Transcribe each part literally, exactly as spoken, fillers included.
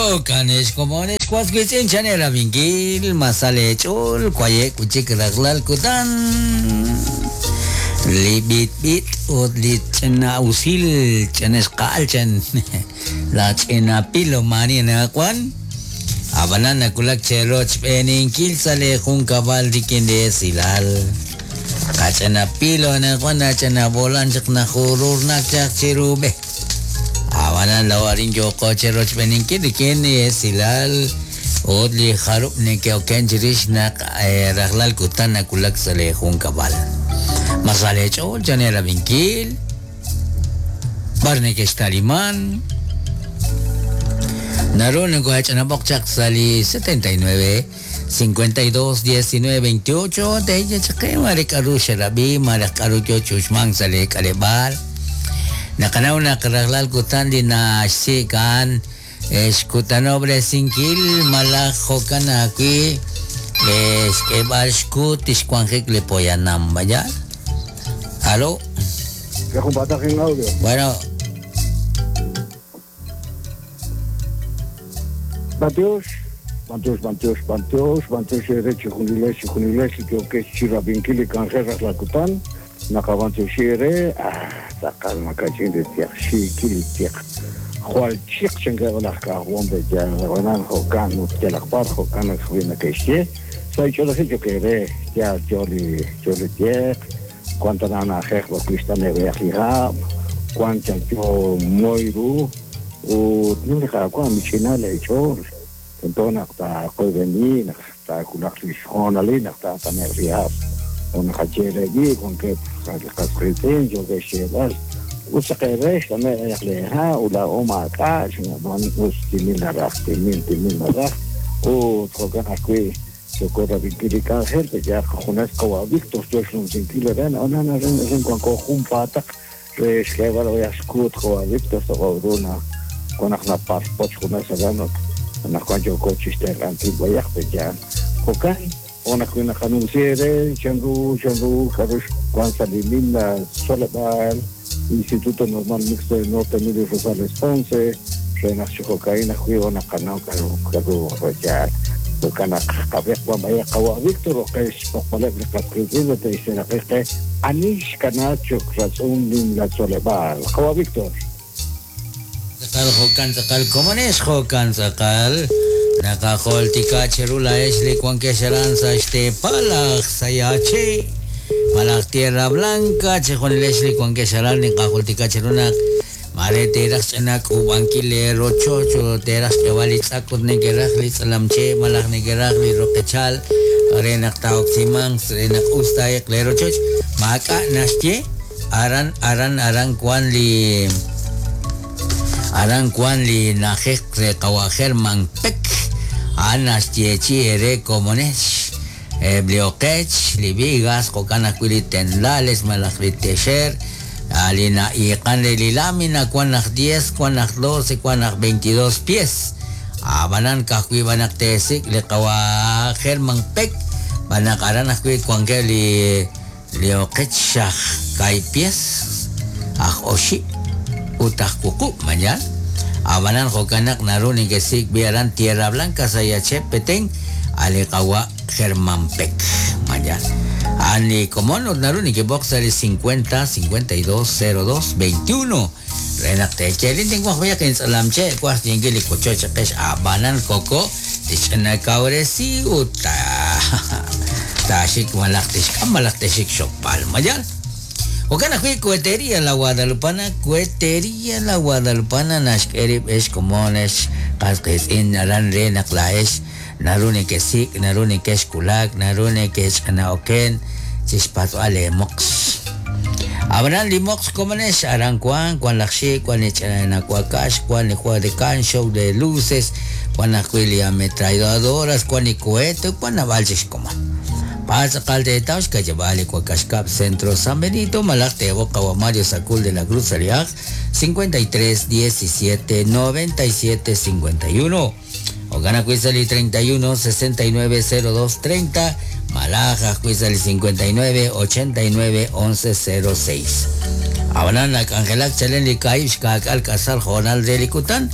Jokanex komonex waswitz'in chanera vinkil masale ch'ol kwaye kuchik rajlal kutan li bit bit ut li ch'ina usil ch'anex q'alchan la ch'ina pilo mani nakuan abanan nakulak cheroch b'eninkil sale jun kabal rikin de silal qach'ana pilo nakuan nach'ana bolan chaq najurur nakchaq chirube abanan lawarin yoko cheroch b'eninkil rikin de silal ut li jarub nekeoken chirix naq rajlal kutan nakulak sale jun kabal masale ch'ol chanera vinkil bar nekextaliman naru nekuach'anab'oq chaq sali setenta y nueve, cincuenta y dos, diecinueve, veintiocho teya chaqe mare k'aru xerab'i mare k'aru yo chuxman sale k'aleb'al naqanaw naq rajlal kutan li naxsikan xkutanobresinkil malaj jo'kan ajwi' xk'eb'al xkut tixwanjik li poyanam vaya. Aló. En audio. Bueno. Bantios, bantios, bantios, bantios, bantios ere chijuniles, chijuniles, que chirabinkili kanjeras la kutan, nakabantios ere, ah, takal makachin de tiak, shikili tiak. Jual chik chengarlaka, wombe ya, ronan jokan, utelakbar jokan, juina que soy yo lo que ere, ya joli, joli tiak, cuanta nana jejba cristane beajira, cuanta yo moiru, ut nilqa michinale chor entonces ta qoybeni ta kulaqlishjonali ta tanerrias on khachere con que qasqritin yo que shelas usaqeresh tame yaqleha ula oma ka shman ustimil raq timil timil raq ut jokan akwi socorra vinkili gente ya jonas qawa Víctor yo sinkile ren onana ren ren con junpataq resh kebalo yaskut qawa Víctor soqoruna con la paspoch con esa gana na cuanto coche este antiguo ya ya jokan ona kuna anunciere chandu chandu karush cuan saliminda solebal Instituto Normal Mixto del Norte Emilio Rosales Ponce renació cocaína juego na canal karu karu ya kana qabek wa maya qawa Víctor que es popoleb qasqizin te isena qe anish kanacho razón lim la solebal qawa Víctor. Tzakal jokan tzakal komones jokan tzakal nakajoltika cherula esli kuanquesharan sa este palaj sayache palaj tierra blanca chejonilesh kuanquesharan nikajoltika cheruna mare teras enak ubankile rochocho teras kewalitzakut nekerajli tzalamche malaj nekerajli roquechal renak taoximang renak ustaek lerochoch maka nasche aran aran aran kuan li aran kuan li najek re kawajer manpek anas yechi ere komones blioquech li vigas kokana kuili tenlales malaj tesher alina y kan li lámina kuan naj diez kuan naj doce kuan naj veintidós pies abanan kakui banak tesik li kawajer manpek banak aran ajui kuan ke li lioquech xaj kai pies aj oshi utah kuku mañan abanan jokanak naruni kesik biaran tierra blanca sayache petén alekawa Germán Peck mañan ani como no naruni que boxer cincuenta cincuenta y dos cero dos veintiuno renak techelin tengo voy a que ensalamche cuas tiengeli cochocha pesh abanan coco tichana kauresi uta tashik malak tishk malak tishik shopal mañan. Okana fui cohetería la Guadalupana, cohetería la Guadalupana, nashkerib es comones, casques in naran re naklaesh, narune que sik, narune que eskulak, narune que anaoken, chispato ale mox. Abrán limox comones, aran cuan, cuan laxi, cuan echanacuacash, cuan le de can, show de luces, cuan acuili ametralladoras, cuan y cohete, cuan avalches coma. Pasa calde de Taush, calle Vale, Cuacascap, Centro San Benito, Malacte, Boca, Mario Sacul de la Cruz, Aliaj, cincuenta y tres, diecisiete, noventa y siete, cincuenta y uno. Ogana Cuizali treinta y uno, sesenta y nueve, cero dos, treinta. Malaja Cuizali cincuenta y nueve, ochenta y nueve, once, cero seis. Abanana, Cangelac, Chaleni, Caish, Cacal, Casal, Jonal, Delicután.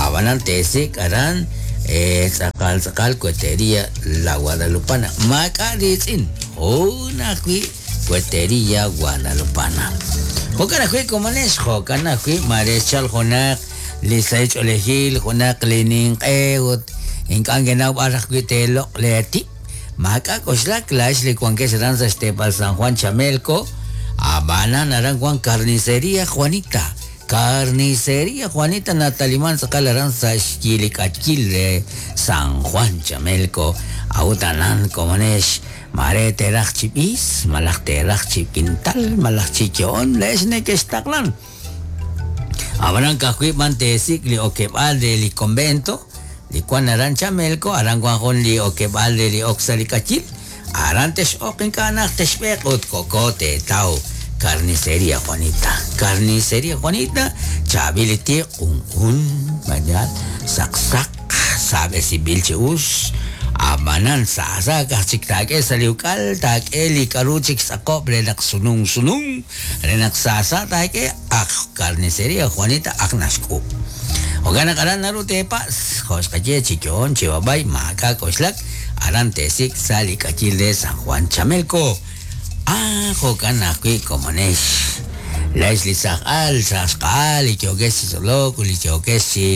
Ab'anan teesik aran tz'aqal tz'aqal Cuetería La Guadalupana. Maak'a' riitz'in jun ajwi' Cuetería Guadalupana. Jo'kan ajwi' komonex, jo'kan ajwi' mare xchal junaq li sahil ch'oolejil, junaq li ninq'e ut ink'a' nkenaw b'ar ajwi' teeloq' leetib'. Maak'a' k'oxlak laa'ex li wankex aran sa' xteepal San Juan Chamelco, ab'anan aran wan Carnicería Juanita. Carnicería Juanita nataliman tz'aqal aran sa' xyilik'achil re San Juan Chamelco. A'ut anan komonex mare teeraj chi b'is, malaj teeraj chi kintal, malaj chi yo'on, le'ex nekextaqlan. Ab'anan ka'ajwi' b'an teesik' li okeb'aal re li convento, li wan aran Chamelco, aran wan jun li okeb'aal re li ok sa' li k'ayil, aran tex'oq ink'a' naj texb'eq ut koko teetaw Carnicería Juanita. Carnicería Juanita, chaab'il li tiq q'unq'un, mayal, saqsaq, saab'esinb'il chi us. Ab'anan saasa kaj chik taak'e sa' li uk'al, taak'e li k'aru chik xtz'aqob' re naq sunun sunun, re naq saasa taak'e aj Carnicería Juanita aj naxk'ub'. Jo'kan naq aran naru teepas, jo' xqaye chi yo'on chi b'ab'ay maak'a' k'oxlak, aran teesik' sa' li k'ayil re San Juan Chamelco. Ah, jo'kan ajwi' komonex. Laa'ex li saj al, saj xqa'al, li yookex chi tzolok, li yookex chi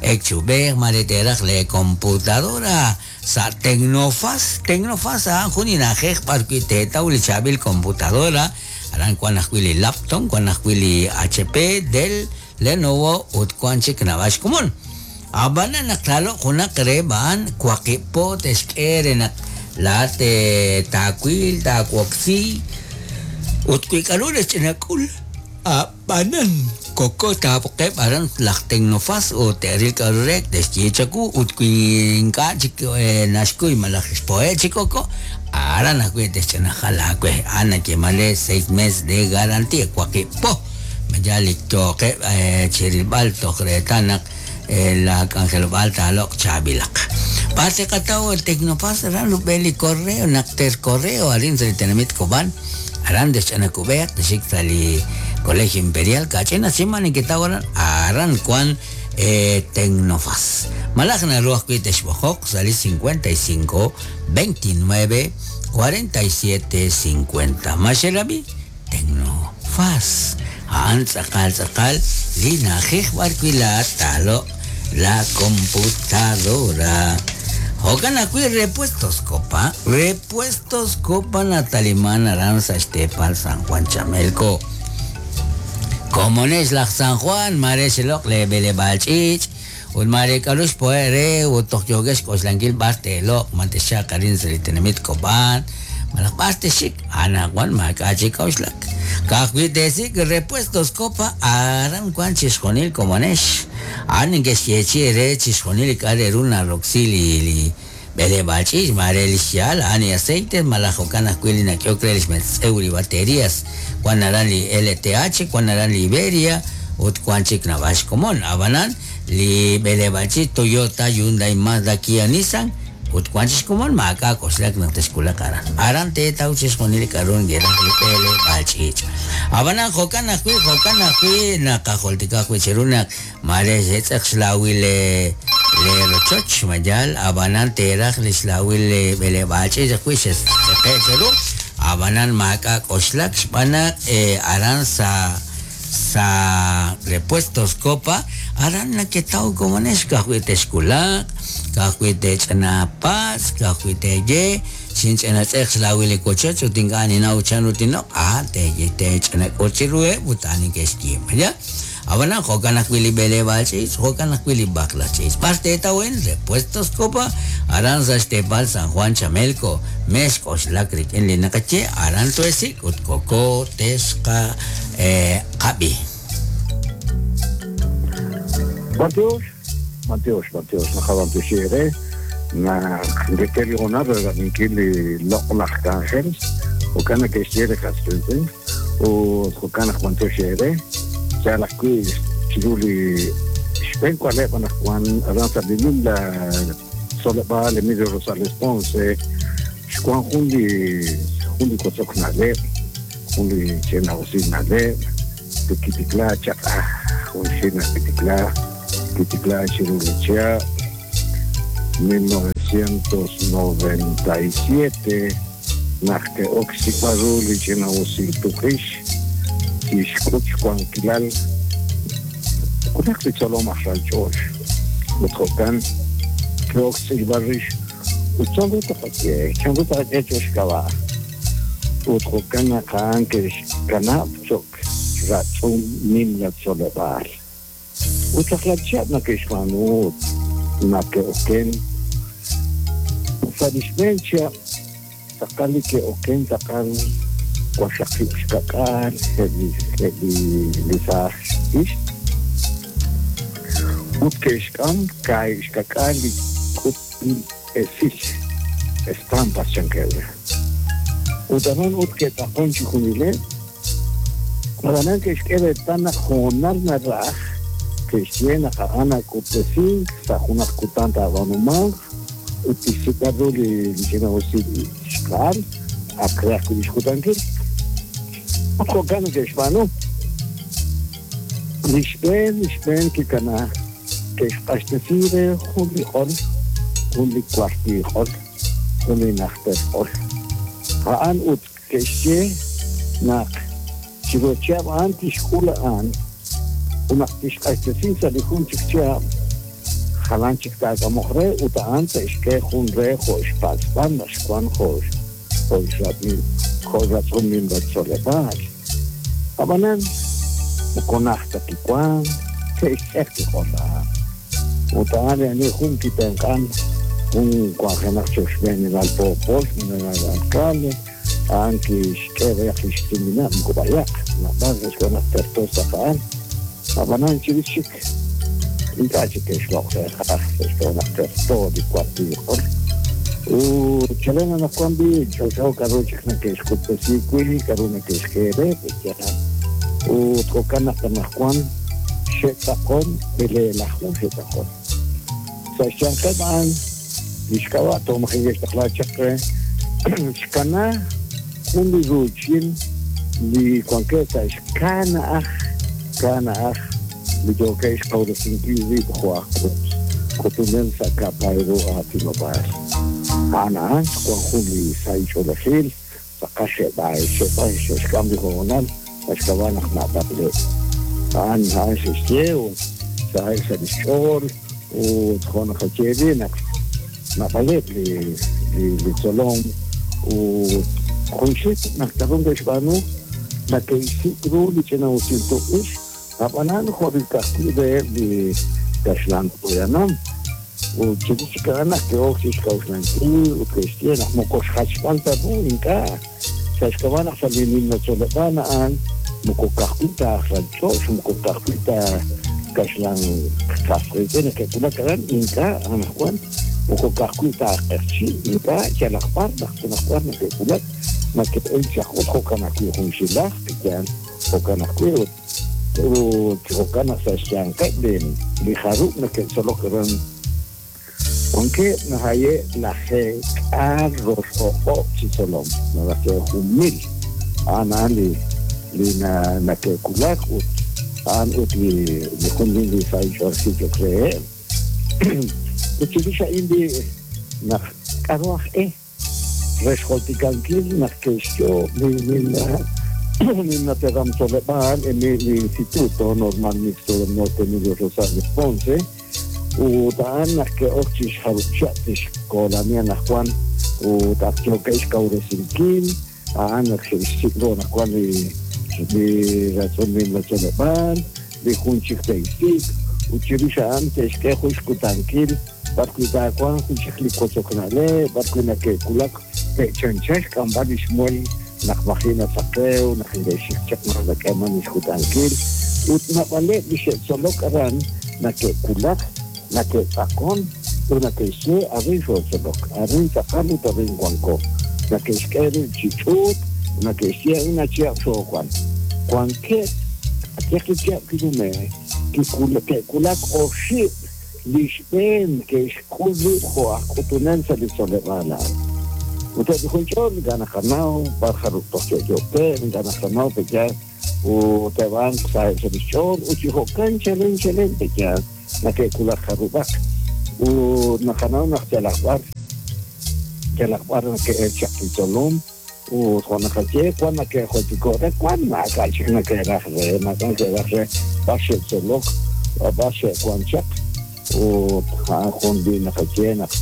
ek chi ub'ej, mare teeraj le computadora sa' Tecnofaz. Tecnofaz a'an jun li na'ajej b'ar wi' teetaw li chaab'il computadora, aran wan ajwi' li laptop, wan ajwi' li H P, Dell, Lenovo ut wan chik naab'al xkomon. Ab'anan naq taaloq junaq reheb' a'an waqib' po texk'e re naq laa'at taawil, taawoksi ut wi k'aru re ch'inak'ul. Ab'anan koko taab'oqeb' aran laj Tecnofaz ut te'ril k'aru re texye chawu ut wi ink'a' chik naxkuy malaj xpo'e' chi koko, aran ajwi' texch'inajal aawe. A'an nayeeman re seis meses de garantía, waqib' po. Mayal li yooqeb' chi rilb'al toj reetal naq la k'anjelob'aal taaloq' chaab'ilaq. B'ar teqataw el Tecnofaz aran rub'el li correo, naq ter correo arin sa' li tenamit Cobán, aran texch'anakub'eq texik sa' li Colegio Imperial kach'ina siman nketaw aran, aran wan Tecnofaz. Malaj naru ajwi' texb'ojoq sa' li cincuenta y cinco, veintinueve, cuarenta y siete, cincuenta. Maxelabi Tecnofaz. A'an tz'aqal tz'aqal li na'ajej b'ar wi' laa'at taaloq' la computadora. Jo'kan ajwi' Repuestos Copa, Repuestos Copa nataliman aran sa' xteepal San Juan Chamelco. Komonex laj San Juan, mare xeloq' le b'eleb'aal ch'iich', ut mare k'aru xpo'e' re ut toj yookex xk'oxlankil b'ar teeloq', ma texxaq arin sa' li tenamit Cobán, malaj b'ar texxik, anaqwan maak'a' chik k'a'uxlak. Ka'ajwi' teesik' Repuestos Copa, aran wan chixjunil komonex. A'an neke'xyeechi re chixjunil li k'a' re ru naroksi li li b'eleb'aal ch'iich', mare li xyaal, a'an li aceite, malaj jo'kan ajwi' li nak'ehok re li xmetz'ew li baterías. Wan aran li L T H, wan aran li Iberia, ut wan chik naab'al xkomon. Ab'anan li b'eleb'aal ch'iich' Toyota, Hyundai, Mazda, Kia, Nissan, ut wan chik xkomon maak'a' k'oxlak naq texkulaq aran. Aran teetaw chixjunil li k'aru nkeraj li b'eleb'aal ch'iich'. Ab'anan jo'kan ajwi', jo'kan ajwi' naqajultika ajwi' chiru naq mare xetz'eq xlawil le le rochoch mayal, ab'anan teeraj li xlawil le b'eleb'aal ch'iich' ajwi' xetz'eqe' chiru. Ab'anan maak'a' k'oxlak xb'aan naq aran sa' sa' Repuestos Copa, aran naketaw komonex ka'ajwi' texkulaq, ka'ajwi' tech'anapas, ka'ajwi' teye, xinch'anatz'eq xlawil li wochoch ut ink'a' ninaw chan ru tinoq', ah, teye tech'anak'ut chiruheb' ut a'an neke'xyiib', ya. Ab'anan jo'kan ajwi' li b'eleb'aal ch'iich', jo'kan ajwi' li b'aqlaq ch'iich'. B'ar teetawen Repuestos Copa, aran sa' xteepal San Juan Chamelco, mex k'oxlak rik'in li naqaye, aran tuesik ut koko texqa qab'i. Bantiox, bantiox, bantiox, naqabantioxi ere, naq ngeterigonar rerabinkil li loq'laj k'anjel, jo'kan neke'xye li qas qiitz'in, ut jo'kan naq bantioxi ere, yal ajwi' chiru li xb'een k'aleb' anaqwan aran sa' li nimla tzoleb'aal Emilio Rosales Ponce, xwan jun li jun li kotzok na'leb', jun li ch'ina'usil na'leb', li kitikla chaq, ah, jun xi' naq kitikla Kitikla chiru li chihab' mil novecientos noventa y siete naq ke'ok xsik'b'al ru li ch'ina'usil tuq'ix kixk'ut xwankilal junaq li tzolom aj ralch'och ut jo'kan ke'ok xtz'ilb'al rix ut chanru taqak'e chanru taqak'e cho'q xk'ab'a' ut jo'kan naq a'an ke'xkanab' cho'q ratz'um nimla tzoleb'aal ut rajlal chihab' nake'xb'aanu naq ke'oken sa' li xb'een chihab' tz'aqal li ke'oken tz'aqal waqxaqib' xka'k'aal eb' li eb' li li saaj ixq ut ke'xk'am kaahib' xka'k'aal li k'utb'il esil estampas chankeb' re ut aran ut ke'tz'aqon chi junileb' ab'anan ke'xk'e reetal naq hoonal naraj ke'xye naq a'an nak'utb'esink sa' junaq kutan taab'aanumanq ut tixsik'b'al ru li ch'ina'usil xk'al ak re ajwi' li xkutankil ut jo'kan neke'xb'aanu li xb'een li xb'een kikana ke'xq'axtesi re jun li q'ol jun li kuartil q'ol jun li najter q'ol a'an ut ke'xye naq chiru chihab' a'an tixk'ul a'an ut naq tixq'axtesi sa' li jun chik chihab' jalan chik taak'amoq re ut a'an te'xk'e jun re jo' xpatz'b'al naq xwan jo' jo' xrab'il jo' ratz'um nimla tzoleb'aal ab'anan moko najt ta kiwan ke'xtz'eq li q'ol a'an ut a'an li ani jun kitenq'an jun wanjenaq cho'q xb'eenilal poopol xb'eenilal alcalde a'an kixk'e b'ayaq li xtuminab' moko b'ayaq nab'al xwan naq terto saq a'an ab'anan chirix chik ink'a' chik ke'xloq' re jaj xwan naq terto li kuartil q'ol ut chalen anaqwan b'i ch'olch'o k'aru chik nake'xk'utb'esi wi' k'aru nake'xk'e re pe'yaal ut jo'kan naq anaqwan xe'tz'aqon b'eleelaju xe'tz'aqon sa' xyanqeb' a'an li xk'ab'a' toj maji' ke'xtaqla chaq re xkana jun li ruuchil li wankeb' sa' xkana'aj kana'aj li yookeb' xqawresinkil rib' jo' aj k'utunel sa' ka'pay ru aatinob'aal a'an a'an xwan jun li sahil ch'oolejil tz'aqal xe'b'ay xe'b'ay xe'xk'am li hoonal sa' xk'ab'a' naq naab'aleb' a'an a'an xe'xye ut saheb' sa' li xch'ool ut jo' naqaye ri naq naab'aleb' li li li tzolom ut junxil naq k'aru ke'xb'aanu nake'xsik' ru li ch'ina'usil tuq'ix ab'anan jo' li ka'ajwi' reheb' li kaxlan poyanam ut chirix chik a'an naq ke'ok chixk'a'uxlankil ut ke'xye naq moko xjachb'al ta ru ink'a' sa' xk'ab'a' naq sa' li nimla tzoleb'aal a'an moko ka'ajwi' ta aj ralch'och moko ka'ajwi' ta kaxlan qasqiitz'in neke'wulak aran ink'a' anaqwan moko ka'ajwi' ta aj q'eqchi' ink'a' yalaq b'ar naq anaqwan neke'wulak nake'el chaq ut jo'kan ajwi' junxilaj pe'yaal jo'kan ajwi' ut ut jo'kan naq sa' xyanqeb' li li jarub' neke'tzolok aran wankeb' nahaye' lajeek'aal rox o'q'ob' chi tzolom naraj jun mil a'an a'an li li nake'wulak ut a'an ut li li jun li sahil ch'oolejil cho'q reheb' ut chirix a'in li naq k'aru aj e re xjoltikankil naq ke'xyoob' li nimla nimla teram tzoleb'aal li Instituto Normal Mixto del Norte Emilio Rosales Ponce ut a'an naq ke'ok chixjarub' chihab' tixkoolani anaqwan ut ak yookeb' xkawresinkil a'an naq xe'xsik' ru anaqwan li li ratz'um nimla tzoleb'aal li jun chik te'xsik' ut chirix a'an te'xk'e jun xkutankil b'arwi' taawanq jun chik li wotzok na'leb' b'arwi' nake'wulak te'chancha xk'amb'al li xmuel naq maji' nasaqew naq ink'e'xik chaq naq nak'eeman li xkutankil ut naab'aleb' li xe'tzolok aran nake'wulak nake'tz'aqon ut nake'xye arin xootzolok arin tz'aqal ut arin wanko nake'xk'e rib' chi ch'uut nake'xye a'in achihab' xoowan wankeb' atyaq li chihab' kinume' ke'wulak oxib' li xb'een ke'xk'ul rib' jo' aj k'utunel sa' li tzoleb'aal a'an ut eb' li jun ch'ol ink'a' naqanaw b'ar jarub' toj yo'yookeb' ink'a' naqanaw pe'yaal ut eb' a'an saheb' sa' li xch'ool ut chi jo'kan chalen chalen pe'yaal Nake'kulak jarub'aq ut naqanaw naq yalaq b'ar yalaq b'ar nake'el chaq li tzolom ut jo' naqaye wan nake'joltiko' re wan maak'a' chik nake'raj re maak'a' nake'raj re b'ar xe'tzolok b'ar xe'wan chaq ut a'an jun li naqaye naq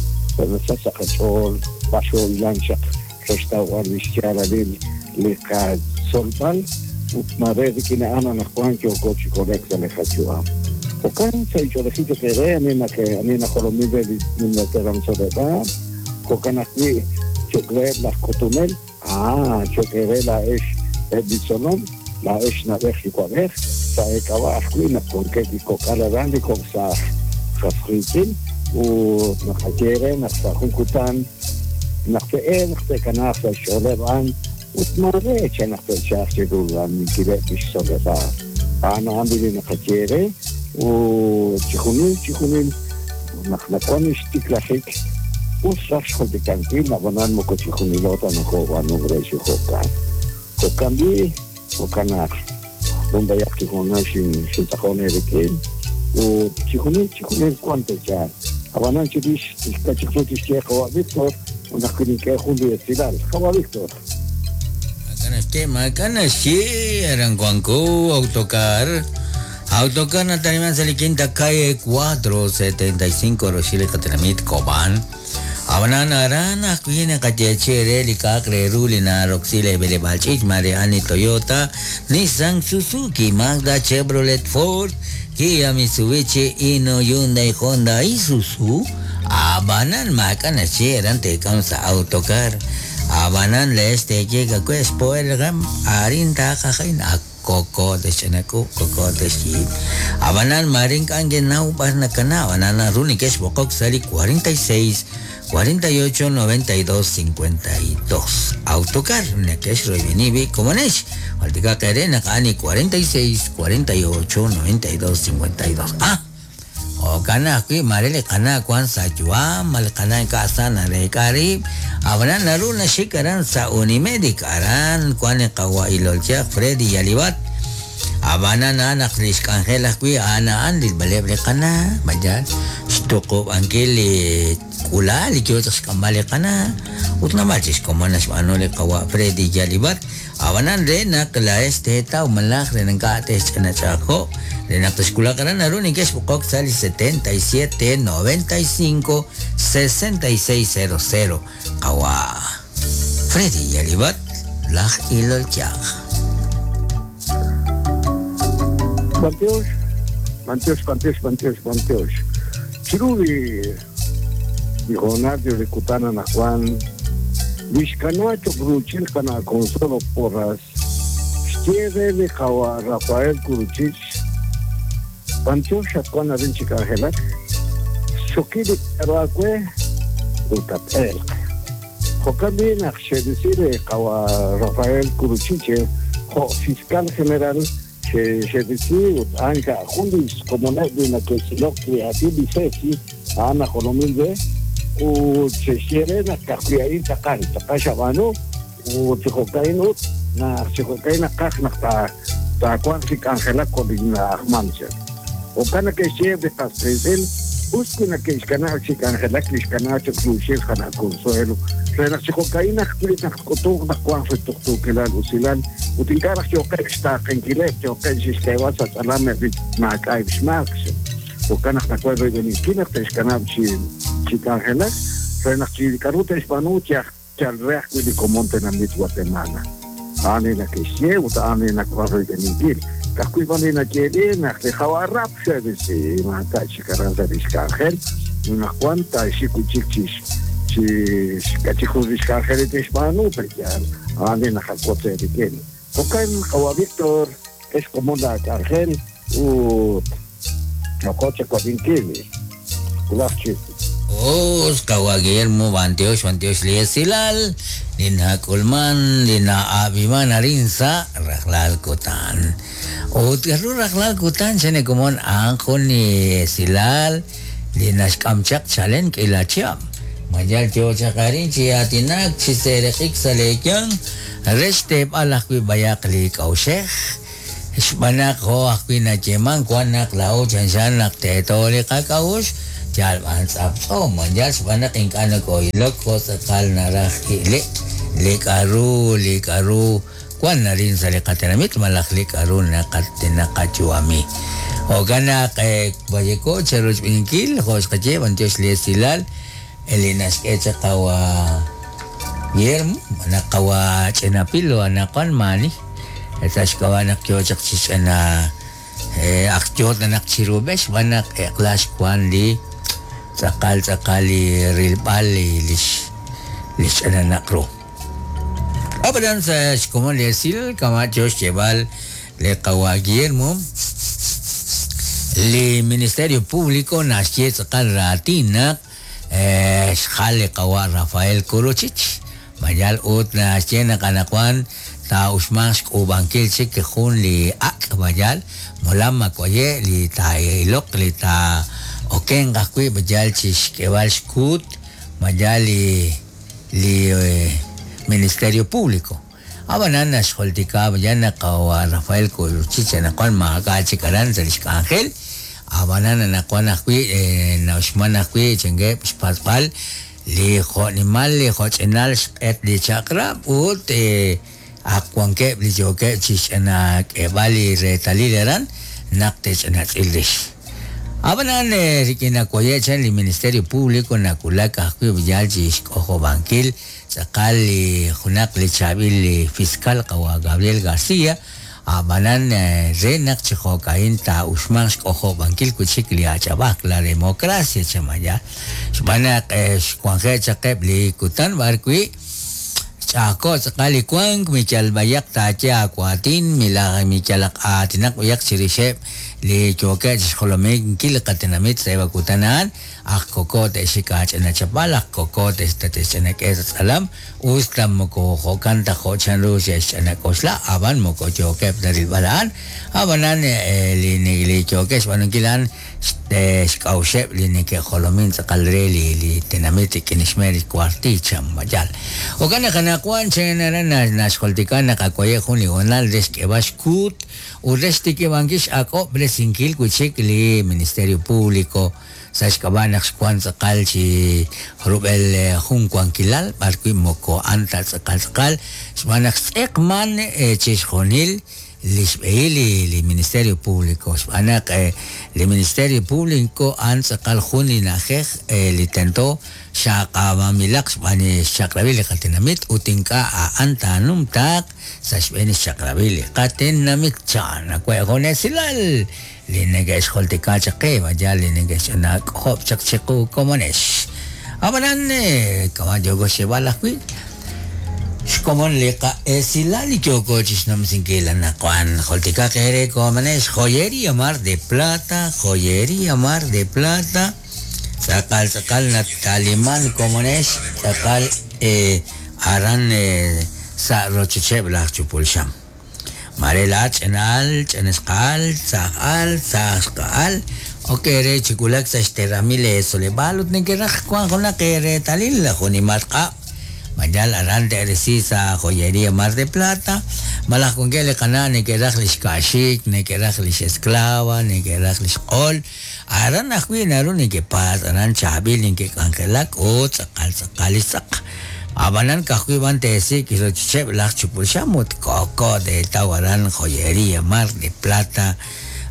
sa' sa' qach'ool b'ar xo'ilan chaq re xtawb'al li xyaalalil li qatzolb'al ut mare rik'in a'an anaqwan yooko chi kole'k sa' li qayu'am. Jo'kan sa' ich'oolejil choq eere ani nake ani najolomil re li nimla teram tzoleb'aal jo'kan ajwi' choq reheb' laj k'utunel ah choq eere laa'ex eb' li tzolom laa'ex nab'ej yuwa'b'ej sa' eek'ab'a' ajwi' naq wankeb' li kok'al aran li kok' sa' qas riitz'in ut naqaye re naq sa' jun kutan naq te'elq te'kanaaq sa' xch'ooleb' a'an ut mare chan naq te'chaq chiru raminkileb' li xtzoleb'aal a'an a'an li naqaye re ut chijunil chijunil naq nawan xtiklajik us raj xjultikankil ab'anan moko chijunilo ta nokob'aanunk re chi jo'kan jo'kan b'i jo'kan naq b'ayaq chijunal xin xintz'aqon eerik'in ut chijunil chijunil wan te'chal ab'anan chirix kachik ru tixye qawa' Víctor ut naq kinink'e jun li esilal qawa' Víctor. Maak'a' maak'a' naxye aran wanko autocar Autocar Nataniman sa' quinta calle cuatro setenta y cinco Rochile Katenamit Cobán. Abanan aran ajwi' naqayeechi li k'a'aq re ru li naroksi li b'eleb'aal ch'iich' mare a'an li Toyota, Nissan, Suzuki, Mazda, Chevrolet, Ford, Kia, Mitsubishi, Hino, Hyundai, Honda, Isuzu. Abanan maak'a' naxye aran teek'am sa' autocar. Abanan leex teeye k'akwe xpo'elqam arin taaqajin ak koko de xch'anaku koko de xyiib. Abanan marin k'anke naw b'ar nakana abanan naru neke'xb'oqok sa' li cuarenta y seis cuarenta y ocho noventa y dos cincuenta y dos. Autocar neke'xroyb'eni komonex jultikaq ere naq a'an li cuarenta y seis cuarenta y ocho noventa y dos cincuenta y dos. Ah jo'kan ajwi' mare li qana' wan sa' yu'am li qana' ink'a' sa nareek'a rib' ab'anan naru naxik aran sa' Unimedic aran wan li qawa' ilolchaq Freddy Yalibat ab'anan a'an naq li xk'anjel ajwi' a'an a'an rilb'aleb' li qana' mayal xtuqub'ankil li k'ula li yoo chaq xk'amb'al li qana' ut namal chi xkomon naxb'aanu li qawa' Freddy Yalibat ab'anan re naq laa'ex teetaw malaj re ink'a' te'xch'anach'aqo' re naq texkulaq aran naru neke'xb'oqok sa' li setenta y siete noventa y cinco sesenta y seis cero cero qawa' Freddy Yalibat laj ilolchaq. Bantiox, bantiox, bantiox, bantiox, bantiox. Chiru li li hoonal li kutan anaqwan lixkana choq ruuchil qana' Consuelo Porras xye re li qawa' Rafael Kuruchich bantiox xatwan arin chi k'anjelak xokil li k'aru aawe ut tat-elq jo'kan b'i naq xe'risi li qawa' Rafael Kuruchiche jo' fiscal general xe'risi ut a'an ka'jun li xkomoneb' li nake'tz'ilok li aatin li CECI a'an najolomil re ut xe'xye re naq ka'ajwi' a'in tz'aqal tz'aqal xab'aanu ut chi jo'ka'in ut naq chi jo'ka'in naqaj naq taawanq chi k'anjelak jo' li na'ajman chaq jo'kan nake'xye li qas qiitz'in us wi nake'xkanab' chi k'anjelak li xkanab' choq ruuchil qana' Consuelo re naq chi jo'ka'in ajwi' naq k'utunq naq wanq sa' tuqtuukilal usilal ut ink'a' raj yooqeb' xtaaqenkileb' yooqeb' xixk'eeb'al sa' tz'alam eb' li maak'a'eb' xmaak jo'kan naq nawan royb'eninkil naq te'xkanab' chi chi k'anjelak re naq chi k'aru te'xb'aanu yal re ajwi' li komon tenamit Guatemala a'an li nake'xye ut a'an li nawan royb'eninkil ka'ajwi' b'an li nayeeli naq li qawa' Rap xe'risi maak'a' chik aran sa' li xk'anjel naq wan taa'xik wi' chik chi chi k'achik jun li xk'anjel li te'xb'aanu pe'yaal a'an li naqawotz eerik'in jo'kan qawa' Víctor ex komon la k'anjel ut nokoche wab'inkil kulaj chik. Os qawa' Guillermo bantiox bantiox li esilal li nak'ulman li na'ab'iman arin sa' rajlal kutan ut k'aru rajlal kutan xene komon a'an jun li esilal li naxk'am chaq chalen k'ila chihab' mayal yoo chaq arin chi aatinak chi seeraq'ik sa' leeyang re xteeb'al ajwi' b'ayaq li k'a'uxej Xb'aan jo ajwi' nayeeman wan naq la'o chanxan naq teeto li qak'a'uxl yal b'an tz'aptz'o yal xb'aan naq ink'a' nako'ilok jo tz'aqal naraj ile li k'a'ru li k'a'ru wan narin sa' li qatenamit malaj li k'a'ru naqayu'ami. Jo'kan naq wayeko cherochb'inkil jo xqaye b'antiox li esilal li naxk'e chaq qawa Guillermo naq qawa ch'inapil anaqwan maani sa' xk'ab'a' naq yo chaq chi ch'ina aj yo naq chirub'ex xb'aan naq eq'la xwan li tz'aqal tz'aqal li rilb'al li lix lix ch'ina naq ru. Ab'anan sa' xkomon li esil kama' yo xyeeb'al li qawa Guillermo li Ministerio Público naxye tz'aqal raatin naq xjal li qawa Rafael Kuruchich mayal ut naxye naq anaqwan ta uxman xk'ub'ankil chik jun li ak' mayal molam makuaye li ta ilok li ta oken ajwi' mayal chi xk'eb'al xkut mayal li li Ministerio Público. Ab'anan naxjoltika mayal naq qawa Rafael Kuruchich anaqwan maak'a' chik aran sa' li xk'anjel ab'anan anaqwan ajwi' nauxman ajwi' chengeb' xpatz'b'al li jo'nimal li jo'ch'inal xq'et li chaq'rab' ut ak wankeb' li yookeb' chi xch'ina k'eb'al li reetalil aran naq te'ch'inatz'il rix. Ab'anan rik'in nakuaye chan li Ministerio Público nakulak ajwi' yal chi xk'ojob'ankil tz'aqal li junaq li chaab'il li fiscal qawa Gabriel García ab'anan re naq chi jo'ka'in taa'uxman xk'ojob'ankil wi' chik li ach'ab'aj la democracia chamaya xb'aan naq xwanje' chaqeb' li kutan b'ar wi' ch'a'ajko' tz'aqal li wank miyal b'ayaq taaye aawatin milaj miyalaq aatinaq b'ayaq chirixeb' li yookeb' chi xjolominkil li qatenamit sa' eb' kutan a'an aj koko te'xik aach'inachapal aj koko te'xch'inak'e sa' tz'alam us ta moko jo'kan ta jo' chanru xe'xch'inak'oxla ab'an moko yookeb' ta rilb'al a'an ab'anan li li yookeb' xb'aanunkil a'an xk'a'uxeb' li neke'jolomin tz'aqal re li li tenamit rik'in xmeel li kuarticha mayal. Jo'kan naq anaqwan chen aran naxjoltika naq akuaye jun li honal re xk'eb'al xkut ut re xtikib'ankil x'ak'ob'resinkil wi' chik li Ministerio Público sa' xk'ab'a' naq xwan tz'aqal chi rub'el jun wankilal b'ar wi' moko a'an ta tz'aqal tz'aqal xb'aan naq xtz'eqman chi xjunil li xb'ehil li Ministerio Público xb'aan naq li Ministerio Público a'an tz'aqal jun li na'ajej li tento xaq'ab'amilaq xb'aan xchaq'rab'il li qatenamit ut ink'a' a'an taanumtaaq sa' xb'een xchaq'rab'il li qatenamit chan nawe' jun esilal li neke'xjoltika chaq qe mayal li neke'xch'inak'ojob' chaq chiqu komonex. Ab'anan kama' yooko xyeeb'al ajwi' xkomon li qa'esilal li yooko chi xnumsinkil anaqwan joltika qere komonex Joyería Mar de Plata Joyería Mar de Plata tz'aqal tz'aqal nataliman komonex tz'aqal aran sa' rochocheb' laj chupulxam Marela ch'inal ch'inxqal tz'ajal tz'ajxqal ok re chikulak sa' xteramil soleb'al ut neke'raj wan junaq reetalil junimal q'ab' mayal aran te'resi sa' Joyería Mar de Plata malaj wankeb' li qana' neke'raj li xka'xik neke'raj li xesclava neke'raj li xq'ol aran ajwi' naru neke'paatz' aran chaab'il neke'k'anjelak ut tz'aqal tz'aqal li xtz'aq ab'anan ka'ajwi' b'an te'sik' rochocheb' laj chupulxam ut koko te'taw aran Joyería Mar de Plata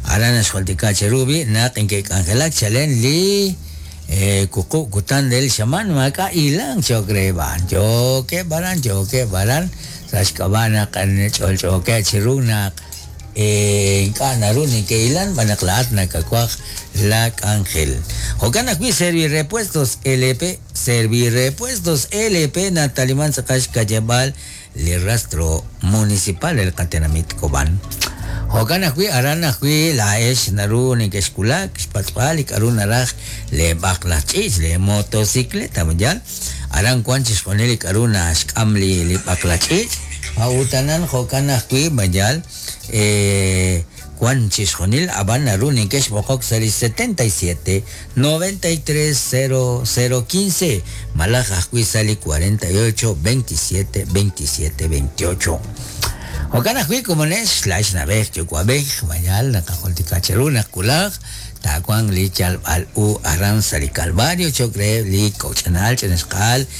aran naxjoltika cheru b'i' naq neke'k'anjelak chalen li kuku kutan del xaman maak'a' ilang cho'q re b'an yookeb' aran yookeb' aran sa' xk'ab'a' naq ch'olch'ookeb' chiru naq ink'a' naru neke'ilan b'an naq la'at nakawaj la k'anjel. Jo'kan ajwi' Servirepuestos L P Servirepuestos L P nataliman tz'aqal xkayeb'al li rastro municipal el qatenamit Cobán. Jo'kan ajwi' aran ajwi' la'ex naru neke'xkulak xpatz'b'al li k'a'ru naraj le b'aqlaj ch'iich' le motocicleta mayal aran wan chi xjunil li k'a'ru naxk'am li li b'aqlaj ch'iich' a'utanan jo'kan ajwi' mayal wan chi xjunil ab'an naru neke'xb'oqok sa' li setenta y siete noventa y tres cero cero quince malaj ajwi' sa' li cuarenta y ocho veintisiete veintisiete veintiocho. Jo'kan ajwi' komonex laa'ex na'b'ej yuwa'b'ej mayal naqajultika cheru naq wulaj taawanq li yalb'al u aran sa' li Calvario cho'q reheb' li kok' ch'ina'al ch'ina xqa'al.